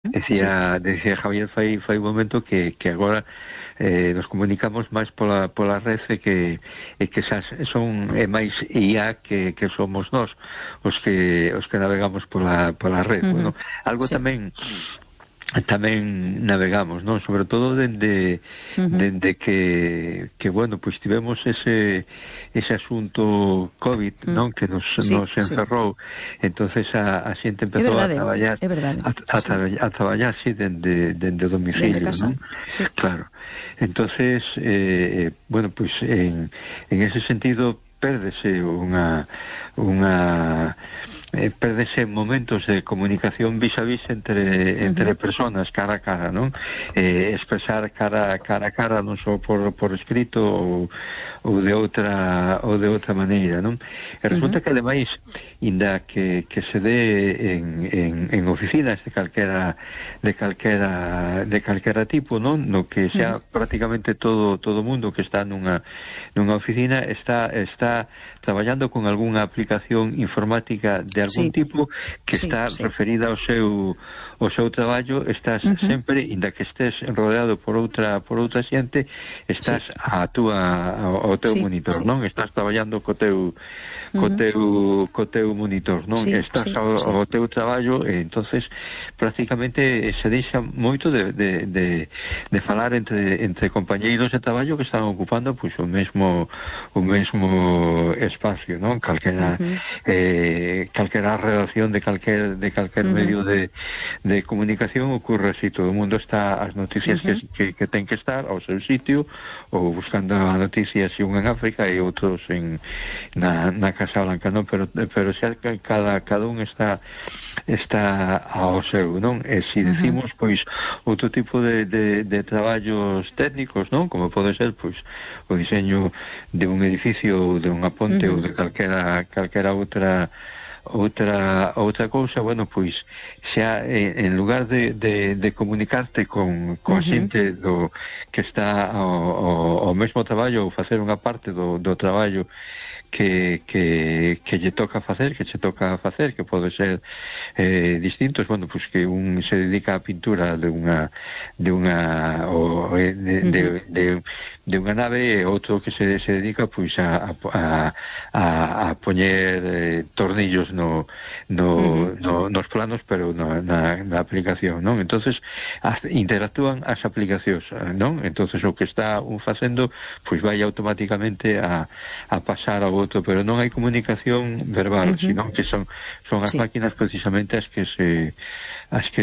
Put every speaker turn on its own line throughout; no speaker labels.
Decía Javier fai un momento que agora nos comunicamos máis pola rede que son máis IA que somos nós os que navegamos pola rede. Bueno, algo tamén navegamos, non? Sobre todo dende que bueno, pois tivemos ese asunto COVID, non? Que nos encerrou. Entonces a xente empezou a traballar a traballar así dende o domicilio, non? Claro. Entonces bueno, pois en ese sentido pérdese pérdese momentos de comunicación vis a vis entre personas cara a cara, non? Expresar cara a cara non só por escrito ou de outra maneira, non? E resulta que ademais inda que se dé en oficinas de calquera tipo, non? No que sea prácticamente todo o mundo que está nunha oficina está traballando con algunha aplicación informática de algún tipo que está referida ao seu traballo. Estás sempre, inda que estés rodeado por outra xente, estás ao teu monitor, non? Estás traballando co teu monitor, non? Estás ao teu traballo, e entonces prácticamente se deixa moito de falar entre compañeiros de traballo que están ocupando pois o mesmo espacio, non? Calquera redacción de calquer medio de comunicación ocurre así. Todo o mundo está as noticias que ten que estar ao seu sitio, ou buscando a noticia si un en África e outros na Casa Blanca, non? Pero xa cada un está ao seu, non? E se decimos pois outro tipo de traballos técnicos, non? Como pode ser pois o diseño de un edificio ou de unha ponte ou de calquera outra cousa, bueno, pois xa en lugar de comunicarte con a xente que está ao mesmo traballo ou facer unha parte do traballo que lle toca facer, que pode ser distintos, bueno, pois que un se dedica á pintura de unha nave, e outro que se dedica pois a poñer tornillos nos planos, pero na aplicación, non? Entonces interactúan as aplicacións, non? Entonces o que está un facendo pois vai automáticamente a pasar ao outro, pero non hai comunicación verbal, sino que son as máquinas precisamente as que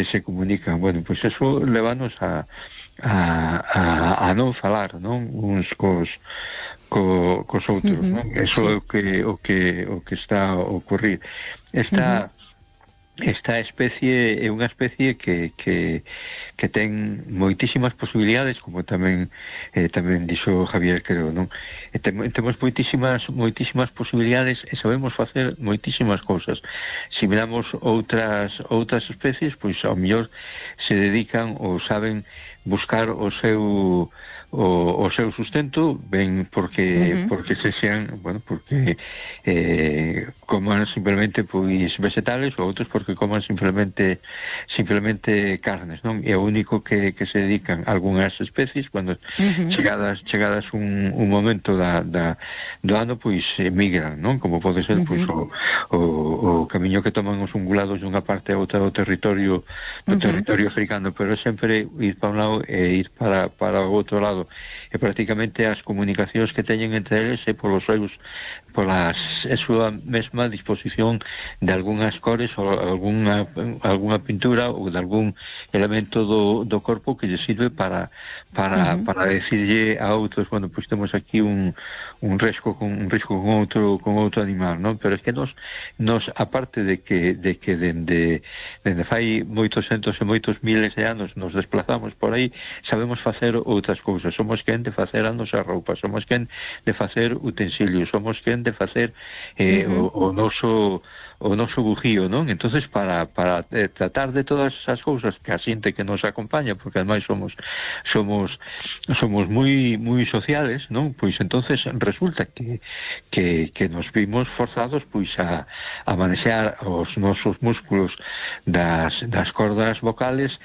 se comunican. Bueno, pois eso levanos a non falar, non? Uns cos outros, non? Eso é o que está a ocurrir. Esta especie é unha especie que ten moitísimas posibilidades, como tamén dixo Javier, creo, non? Temos moitísimas posibilidades e sabemos facer moitísimas cousas. Se miramos outras especies, pois ao mellor se dedican ou saben buscar o seu sustento, ben porque se sean, bueno, porque coman simplemente pois vegetales, ou outros porque coman simplemente carnes, non? E o único que se dedican algunhas especies, cando chegadas un momento do ano, pois emigran, non? Como pode ser pois o camiño que toman os ungulados dunha parte a outra do territorio africano, pero sempre ir para un lado e ir para o outro lado, e prácticamente as comunicacións que teñen entre eles é pola súa mesma disposición de algunhas cores ou algunha pintura ou de algún elemento do corpo que lle sirve para decirlle a outros, bueno, pois temos aquí un risco con outro animal, non? Pero é que nos aparte de que dende fai moitos centos e moitos miles de anos nos desplazamos por aí, sabemos facer outras cousas. Somos quen de facer a nosa roupa, somos quen de facer utensilios, somos quen de facer o noso bujío, non? Entonces para tratar de todas esas cousas que a xente que nos acompaña, porque ademais somos moi sociales, non? Pois entonces resulta que nos vimos forzados pois a manexar os nosos músculos das cordas vocales